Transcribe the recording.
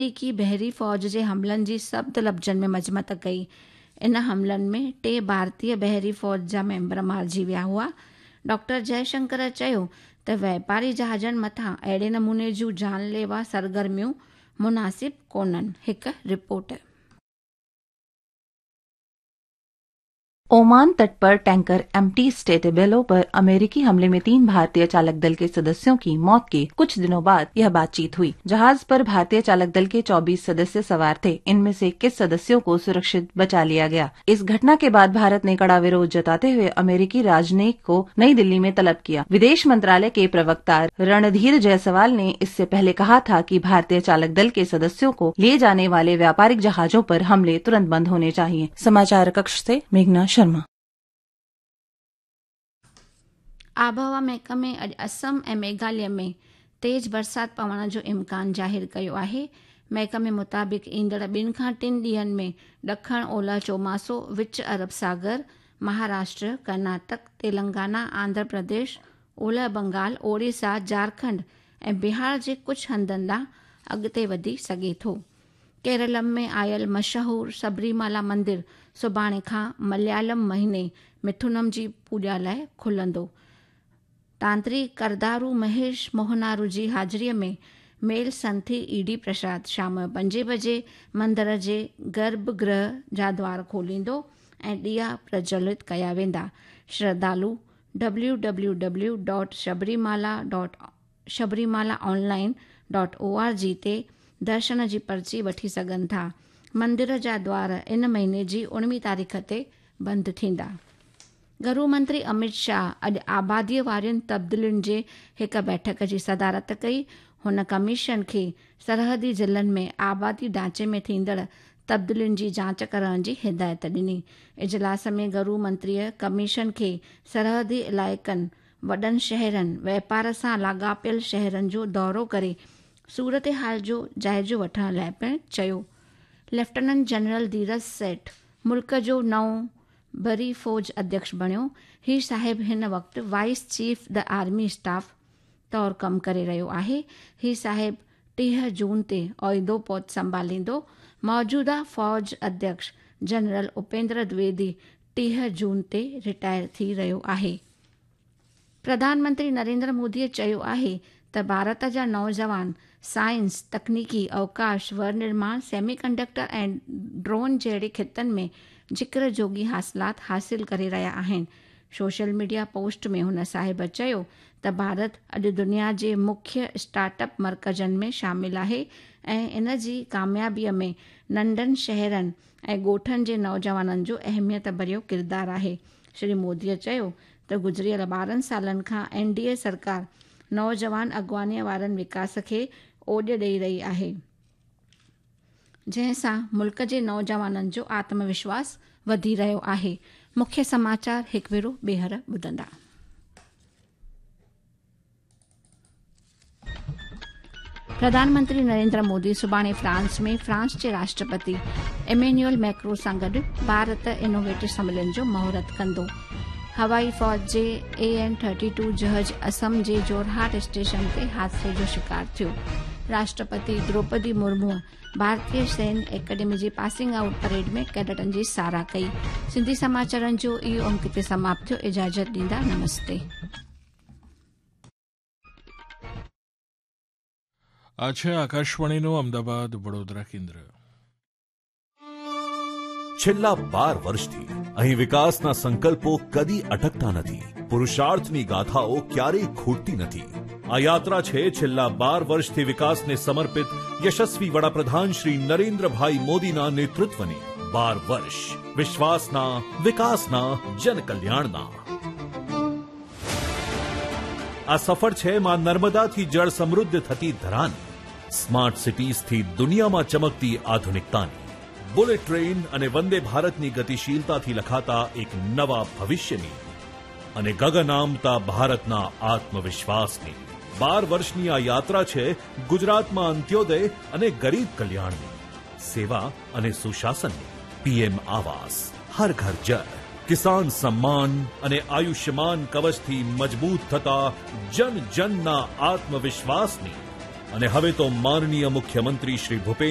آمريڪي بحري فوج جي حملن جي سخت لفظن ۾ مذمت ڪئي. ان حملن ۾ ٽي ڀارتيه بحري فوج جا ميمبر مارجي ويا هئا. ڊاڪٽر جئي شنڪر چيو ته واپاري جهازن مٿان اهڙي نموني جون جان ليوا سرگرميون مناسب ڪونهن. هڪ رپورٽ. ओमान तट पर टैंकर एमटी स्टेटेबेलो पर अमेरिकी हमले में 3 भारतीय चालक दल के सदस्यों की मौत के कुछ दिनों बाद यह बातचीत हुई। जहाज पर भारतीय चालक दल के 24 सदस्य सवार थे। इनमें से 21 सदस्यों को सुरक्षित बचा लिया गया। इस घटना के बाद भारत ने कड़ा विरोध जताते हुए अमेरिकी राजनयिक को नई दिल्ली में तलब किया। विदेश मंत्रालय के प्रवक्ता रणधीर जायसवाल ने इससे पहले कहा था कि भारतीय चालक दल के सदस्यों को लिए जाने वाले व्यापारिक जहाजों पर हमले तुरंत बंद होने चाहिए। समाचार कक्ष से मेघना शर्मा। आबहवा महकमे अॼु असम ऐं मेघालय में तेज़ बरसाति पवण जो इम्कान ज़ाहिर कयो आहे। महकमे मुताबिक़ ईंदड़ 2 खां 3 ॾींहंनि में ॾखण ओलह चोमासो, विच अरब सागर, महाराष्ट्र, कर्नाटक, तेलंगाना, आंध्र प्रदेश, ओलह बंगाल, ओडिशा, झारखंड ऐं बिहार जे कुझु हंधनि ॾांहुं अॻिते वधी सघे थो। केरलम में आयल मशहूर सबरीमाला मंदिर सुभाणे खां मलयालम महीने मिथुनम जी पूॼा लाइ खुलंदो। तांत्रिक करदारू महेश मोहनारू जी हाज़िरीअ में मेल संथी ईडी प्रसाद शाम जो 5 बजे मंदर जे गर्भगृह जा द्वार खोलींदो ऐं ॾिया प्रज्वलित कया वेंदा। श्रद्धालु www.sabarimala.sabarimalaonline.org ते दर्शन जी पर्ची वठी सघनि था। मंदिर जा द्वार इन महीने जी 19 तारीख़ ते बंदि थींदा। गृह मंत्री अमित शाह अॼु आबादीअ वारियुनि तब्दीलियुनि जे हिकु बैठक जी सदारत कई। हुन कमीशन खे सरहदी ज़िलनि में आबादी ढांचे में थींदड़ तब्दीलियुनि जी जांच करण जी हिदायत ॾिनी। इजलास में गृह मंत्रीअ कमीशन खे सरहदी इलाइक़नि, वॾनि शहरनि, वापार सां लाॻापियल शहरनि जो दौरो करे सूरत हाल जो जाइज़ो वठण लाइ पिणु चयो। लेफ्टिनेंट जनरल धीरज सेठ मुल्क जो नओं बरी फौज अध्यक्ष बणियो। ही साहिब हिन वक़्तु vice chief the army staff तौरु कमु करे रहियो आहे। ही साहिब 30 जून ते ओहिदो पद संभालींदो। मौजूदा फौज अध्यक्ष जनरल उपेंद्र द्विवेदी 30 जून ते रिटायर थी रहियो आहे। प्रधानमंत्री नरेंद्र मोदीअ चयो आहे त भारत जा नौजवान साइंस, तकनीकी, अवकाश, विनिर्माण, सेमी कंडक्टर ऐं ड्रोन जहिड़े ख़ितनि में ज़िक्र जोगी हासिलात हासिल करे रहिया आहिनि। सोशल मीडिया पोस्ट में हुन साहिब चयो त भारत अॼु दुनिया जे मुख्य स्टार्टअप मर्कज़नि में शामिल आहे ऐं इन जी कामयाबीअ में नंढनि शहरनि ऐं ॻोठनि जे नौजवाननि जो अहमियत भरियो किरदारु आहे। श्री मोदीअ चयो त गुज़िरियल 12 सालनि खां एनडीए सरकार नौजवान अॻवानीअ वारनि विकास खे ओॾ ॾेई रही आहे, जंहिं सां मुल्क जे नौजवाननि जो आत्मविश्वास वधी रहियो आहे। मुख्य समाचार हिकु भेरो ॿीहर ॿुधंदा। प्रधानमंत्री नरेंद्र मोदी सुभाणे फ्रांस में फ्रांस जे राष्ट्रपति इमैनुअल मैक्रो सां गॾु भारत इनोवेटिव सम्मेलन जो मुहूर्त कंदो। हवाई फौज जे AN-32 जहाज़ असम जे जोरहाट स्टेशन ते हादसे जो शिकार थियो। राष्ट्रपति द्रौपदी मुर्मू भारतीय सैन्य एकेडमी जी पासिंग आउट परेड में कैडेटनि जी सराह कई। सिंधी समाचारनि जो इहो अंक हिते समाप्त थियो। इजाज़त ॾींदा, नमस्ते। આ છે આકાશવાણીનું અમદાવાદ વડોદરા કેન્દ્ર. છેલ્લા 12 વર્ષથી અહીં વિકાસના સંકલ્પો કદી અટકતા નથી, પુરુષાર્થની ગાથાઓ ક્યારેય ખૂટતી નથી. આ યાત્રા છે છેલ્લા 12 વર્ષથી વિકાસને સમર્પિત યશસ્વી વડાપ્રધાન શ્રી નરેન્દ્રભાઈ મોદીના નેતૃત્વની. 12 વર્ષ વિશ્વાસના, વિકાસના, જનકલ્યાણના. આ સફર છે માં નર્મદાથી જળ સમૃદ્ધ થતી ધરાની, સ્માર્ટ સિટીઝથી દુનિયામાં ચમકતી આધુનિકતાની, બુલેટ ટ્રેન અને વંદે ભારતની ગતિશીલતાથી લખાતા એક નવા ભવિષ્યની અને ગગનામતા ભારતના આત્મવિશ્વાસની. 12 વર્ષની આ યાત્રા છે ગુજરાતમાં અંત્યોદય અને ગરીબ કલ્યાણની, સેવા અને સુશાસનની. પીએમ આવાસ, હર ઘર જલ, કિસાન સન્માન અને આયુષ્યમાન કવચથી મજબૂત થતા જન જનના આત્મવિશ્વાસની. અને હવે તો માનનીય મુખ્યમંત્રી શ્રી ભૂપેન્દ્ર